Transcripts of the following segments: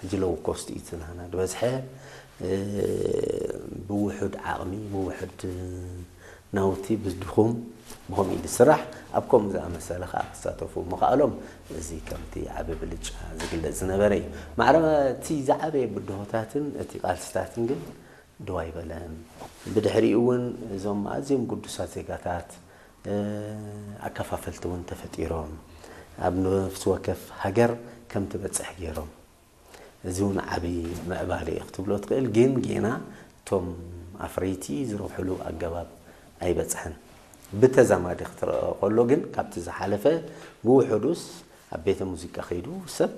ሕጂ ሎው ኮስት እዩ ናህና ዝበዝሐ። ብውሑድ ዓቕሚ፣ ብውሑድ ናውቲ፣ ብድኹም ብኸምኡ እዩ ዝስራሕ። ኣብ ከምኡ ዝኣመሰለ ከዓ ክሳተፉ ምኽኣሎም፣ እዚ ከምቲ ዓቢ ብልጫ ዝግለጽ ዝነበረ እዩ። ማዕረ እቲ ዝዓበየ ብድሆታትን እቲ ቃልስታትን ግን ደው ኣይበለን። ብድሕሪኡ እውን እዞም ኣዝዮም ግዱሳት ዜጋታት ኣከፋፈልቲ እውን ተፈጢሮም፣ ኣብ ነፍሲ ወከፍ ሃገር ከም ትበጽሕ ገይሮም። እዚ እውን ዓቢ ምዕባለ እዩ ክትብሎ ትኽእል። ግን ጌና እቶም ኣፍረይቲ ዝረብሕሉ ኣገባብ ኣይበጽሐን። ብተዛማዲ ክትረኦ ከሎ ግን ካብቲ ዝሓለፈ ብውሕዱስ ኣብ ቤተ ሙዚቃ ከይዱ ሰብ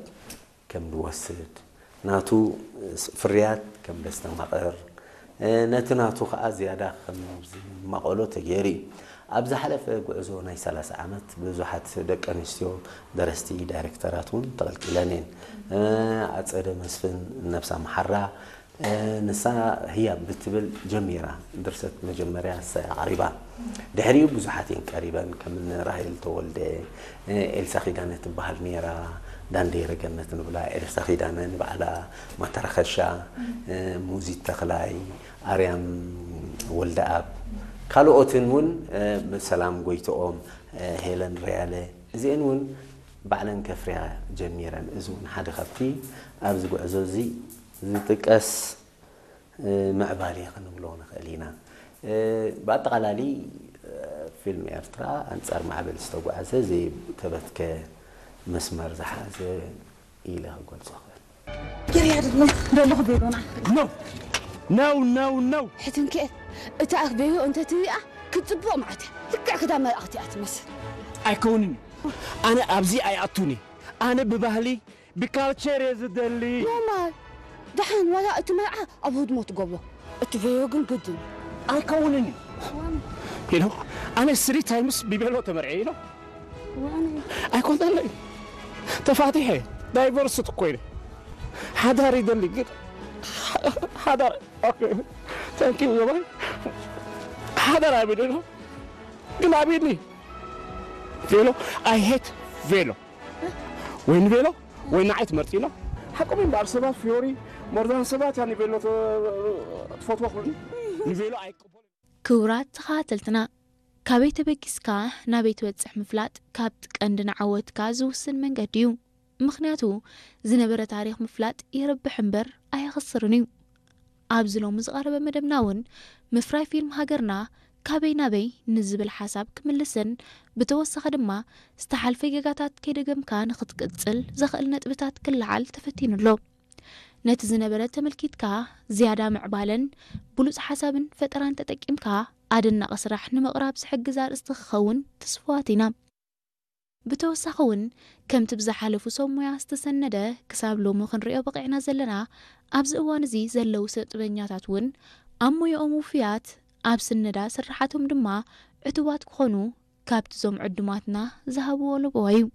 ከም ዝወስድ፣ ናቱ ፍርያት ከም ዘስተማቕር፣ ነቲ ናቱ ከዓ ዝያዳ ከም ዝማቐሎ ተገይሩ እዩ። ኣብ ዝሓለፈ ጉዕዞ ናይ ሰላሳ ዓመት ብዙሓት ደቂ ኣንስትዮ ደረስቲ፣ ዳይሬክተራት እውን ተቐልቂለን እየን። ኣጸደ መስፍን፣ ነብሳ መሓራ፣ ንሳ ህያብ ብትብል ጀሚራ፣ ድርሰት መጀመርያ ንሳ እያ ኣቕሪባ። ድሕሪኡ ብዙሓት እየን ቀሪበን፣ ከም እኒ ራሄል ተወልደ፣ ኤልሳ ኪዳነ ትበሃል ነይራ፣ ዳንዴረ ገነት ንብላ፣ ኤልሳ ኪዳነ ንባዕላ፣ ማተራኸሻ፣ ሙዚት ተኽላይ፣ ኣርያም ወልደኣብ፣ ካልኦትን እውን፣ ሰላም ጎይትኦም፣ ሄለን ርያለ፣ እዚአን እውን ባዕለን ከፍርያ ጀሚረን። እዚ እውን ሓደ ካብቲ ኣብዚ ጉዕዞ እዚ ዝጥቀስ ምዕባለ ክንብሎ ንኽእል ኢና። ብኣጠቓላሊ ፊልም ኤርትራ ኣንጻር ማዕበል ዝተጓዕዘ፣ ዘይተበትከ መስመር ዝሓዘ ኢለ ክገልጾ እኽእል። ኪርያ ደሎ ደሎ ክቤሎና። No! No, no, no! ሕትንክኤ፣ እታ ኣኽበዮ እንተ ትሪኣ ክትጽብቕ መዓት እያ። ልክዕ ክዳ መላእኽቲ እያ ትመስል። ኣይከውንን እዩ። ኣነ ኣብዚ ኣይኣቱን እየ። ኣነ ብባህሊ፣ ብካልቸር እየ ዝደሊ። ኖማል። ደሓን ዋላ እቲ መርዓ ኣብ ህድሞ ትገብሮ። እቲ ቬዮ ግን ግድን። ኣይከውንን እዩ። ኢሎ፣ ኣነ ስሪ ታይምስ ብቤሎ ተመርዐ ኢሎ። ኣይኮነለይ። ተፋቲሐ፣ ዳይቨርስ እኮ ኢለ። ሓዳር ይደሊ ግን፣ ሓዳር፣ ኦኬ፣ ታንክ ዩ፣ ባይ። ሓዳር ኣቢሉ ኢሎ። ግን ኣቢኒ። ቬሎ፣ I hate ቬሎ። ወይ ንቬሎ፣ ወይ ንዓይ ትመርጺ ኢሎ። ሓቆም እምበኣር ሰባት ፊዮሪ፣ ሞርዛን ሰባት እያ ንቬሎ ተ-፣ ትፈትዋ ክብሉኒ። ንቬሎ ኣይቅበሉን። ክቡራት ተኸታተልትና፣ ካበይ ተበጊስካ ናበይ ትበጽሕ ምፍላጥ ካብቲ ቀንዲ ንዓወትካ ዝውስን መንገዲ እዩ። ምኽንያቱ፣ ዝነበረ ታሪኽ ምፍላጥ የርብሕ እምበር ኣየኽስርን እዩ። ኣብዚ ሎሚ ዝቐረበ መደብና እውን ምፍራይ ፊልም ሃገርና ካበይ ናበይ ንዝብል ሓሳብ ክምልስን ብተወሳኺ ድማ ዝተሓልፈ ጌጋታት ከይደገምካ ንኽትቅጽል ዘኽእል ነጥብታት ክለዓል ተፈቲኑ ኣሎ። ነቲ ዝነበረ ተመልኪትካ ዝያዳ ምዕባለን ብሉጽ ሓሳብን ፈጠራን ተጠቂምካ ኣደናቒ ስራሕ ንምቕራብ ዝሕግዝ ኣርእስቲ ክኸውን ትስፉዋት ኢና። ብተወሳኺ እውን ከምቲ ብዝሓለፉ ሰብ ሞያ ዝተሰነደ ክሳብ ሎሚ ክንሪኦ በቒዕና ዘለና ኣብዚ እዋን እዚ ዘለዉ ሰብ ጥበኛታት እውን ኣብ ሞያኦም ውፉያት ኣብ ስነዳ ስርሓቶም ድማ ዕቱባት ክኾኑ ካብቲ ዞም ዕዱማትና ዝሃብዎ ለበዋ እዩ።